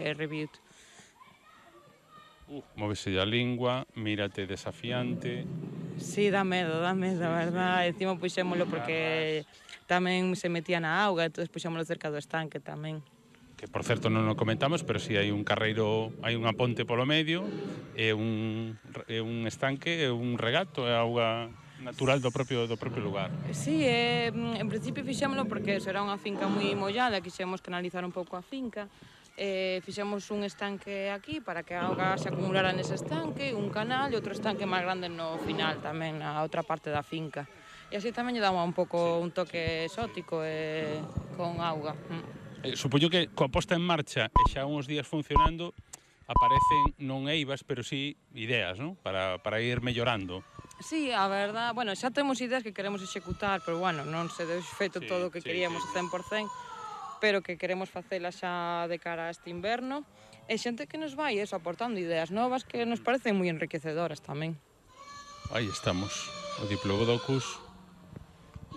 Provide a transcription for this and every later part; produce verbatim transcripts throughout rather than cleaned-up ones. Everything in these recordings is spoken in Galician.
eh, Reviewed. Uh, móvese a lingua, mírate desafiante. Sí, dá medo, dá medo, a verdad. Encima puxémolo porque tamén se metía na auga, entón puxémolo cerca do estanque tamén. Que, por certo, non o comentamos, pero si hai un carreiro, hai unha ponte polo medio, e un, e un estanque, e un regato, é auga natural do propio, do propio lugar. Sí, eh, en principio fixémolo porque será unha finca moi mollada, quixemos canalizar un pouco a finca. Eh, fixemos un estanque aquí para que a auga se acumulara nese estanque, un canal e outro estanque máis grande no final tamén, na outra parte da finca. E así tamén lle damos un pouco un toque exótico e con auga. Eh, supoño que coa posta en marcha e xa uns días funcionando aparecen non eivas, pero sí ideas, non? Para, para ir mellorando. Sí, a verdad, bueno, xa temos ideas que queremos executar, pero bueno, non se deu feito sí, todo o que sí, queríamos sí. cen por cen, pero que queremos facela xa de cara a este inverno, e xente que nos vai eso, aportando ideas novas que nos parecen moi enriquecedoras tamén. Aí estamos, o Diplodocus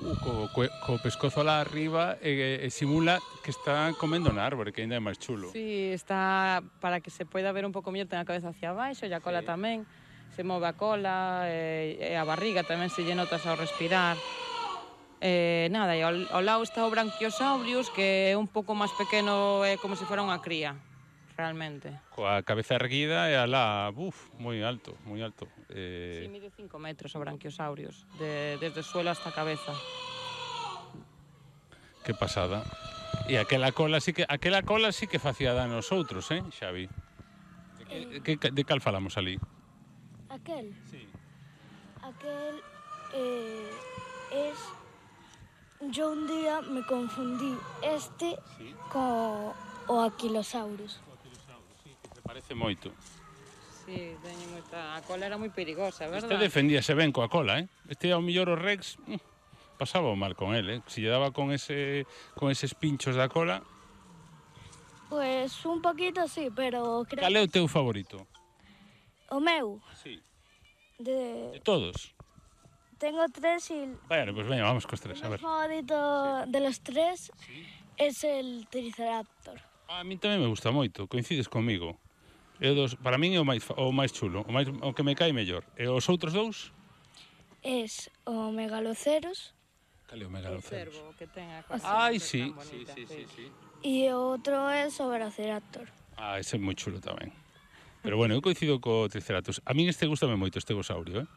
uh, co, co, co pescozo alá arriba e, e simula que está comendo na árbore, que ainda é máis chulo. Sí, está para que se poida ver un pouco mellor, ten a cabeza hacia abaixo e a cola sí. tamén, se move a cola e, e a barriga tamén se lle notas ao respirar. Eh, nada, e ao, ao lado está o Brachiosaurus, que é un pouco máis pequeno, é como se fora unha cría, realmente. Coa cabeza erguida e alá, buf, moi alto, moi alto. Eh... Sí, mide cinco metros o Brachiosaurus, de, desde o suelo hasta a cabeza. Que pasada. E aquela cola sí que aquela cola sí que facía dano aos outros, eh, Xavi? De, que, que, de cal falamos ali? Aquel? Sí. Aquel eh, es... Yo un día me confundí este sí. co o Aquilosaurus. O Aquilosaurus, sí, que se parece moito. Sí, teñe moita... A cola era moi perigosa, verdad? Este defendíase ben coa cola, eh? Este ao millor o Rex mm, pasaba mal con el, eh? Si lle daba con ese con eses pinchos da cola. Pues un poquito sí, pero creo... Cal é o teu favorito? O meu? Sí. De... De todos? Tengo tres y... Bueno, pues venga, vamos con tres, a ver. Mi favorito sí. de los tres sí. es el Triceraptor. A mí tamén me gusta moito, coincides comigo. É dos, para min é o máis, o máis chulo, o, máis, o que me cae mellor. E os outros dous? Es o Megaloceros. Cal é o Megaloceros? O cervo que ten a cosa. Ai, sí. Sí, sí, sí, sí. E o outro es o Velociraptor. Ah, ese é moi chulo tamén. Pero bueno, eu coincido co Triceratops. A min este gustame moito, este gosaurio, eh?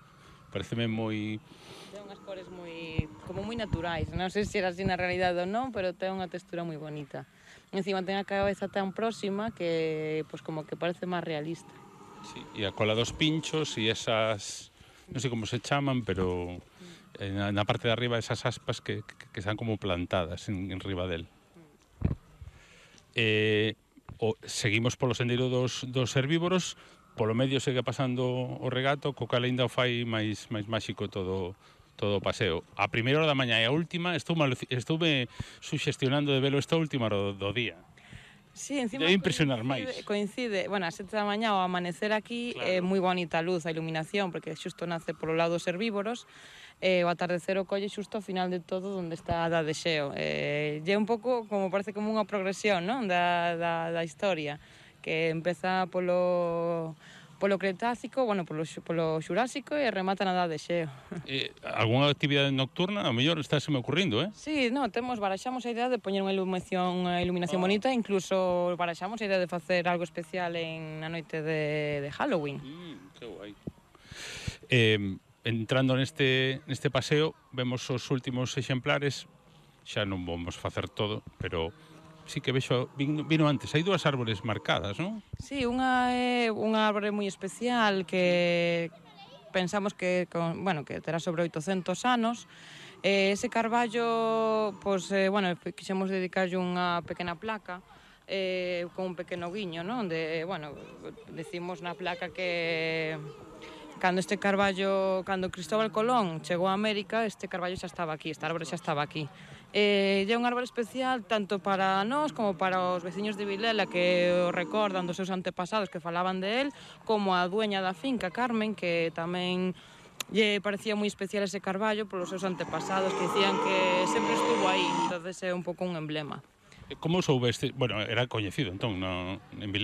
Pareceme moi... Ten unhas cores moi... como moi naturais. Non sei se era así na realidade ou non, pero ten unha textura moi bonita. Encima ten a cabeza tan próxima que, pois, como que parece máis realista. Sí, e a cola dos pinchos e esas... non sei como se chaman, pero... Na, na parte de arriba esas aspas que, que, que están como plantadas en, en riba del. Eh, o, seguimos polo sendeiro dos, dos herbívoros. Polo medio segue pasando o regato, co cal ainda o fai máis máis máxico todo todo o paseo. A primeira hora da mañá e a última estou mal, estoume suxestionando de velo esta última hora do, do día. Sí, encima debe impresionar coincide, máis. Coincide, bueno, a sete da mañá ao amanecer aquí claro. É moi bonita a luz, a iluminación, porque xusto nace polo lado dos herbívoros, e o atardecer o colle xusto ao final de todo onde está a da de Xeo. E é un pouco como parece como unha progresión, non, da, da, da historia, que empeza polo polo Cretácico, bueno, polo, polo Xurásico e remata na Edade de Xeo. Eh, algunha actividade nocturna, a mellor estáse me ocurrindo, eh? Sí, no, temos, baraxamos a idea de poñer unha iluminación, unha iluminación oh. bonita, incluso baraxamos a idea de facer algo especial en na noite de, de Halloween. Mm, que guai. Eh, entrando neste, neste paseo, vemos os últimos exemplares, xa non vamos facer todo, pero... sí que vexo, vino, vino antes, hai dúas árbores marcadas, non? Sí, unha é unha árbore moi especial que pensamos que, con, bueno, que terá sobre oitocentos anos. Eh, ese carballo, pois, eh, bueno, quixemos dedicarlle unha pequena placa eh, con un pequeno guiño, non? De, bueno, decimos na placa que... Cando este carballo, cando Cristóbal Colón chegou a América, este carballo xa estaba aquí, esta árbore xa estaba aquí. Eh, é un árbore especial tanto para nós como para os veciños de Vilela que o recordan dos seus antepasados que falaban de él, como a dueña da finca, Carmen, que tamén lle parecía moi especial ese carballo polos seus antepasados que dicían que sempre estuvo aí, entonces é un pouco un emblema. Como soubeste? Bueno, era coñecido entón, no, en Vilela.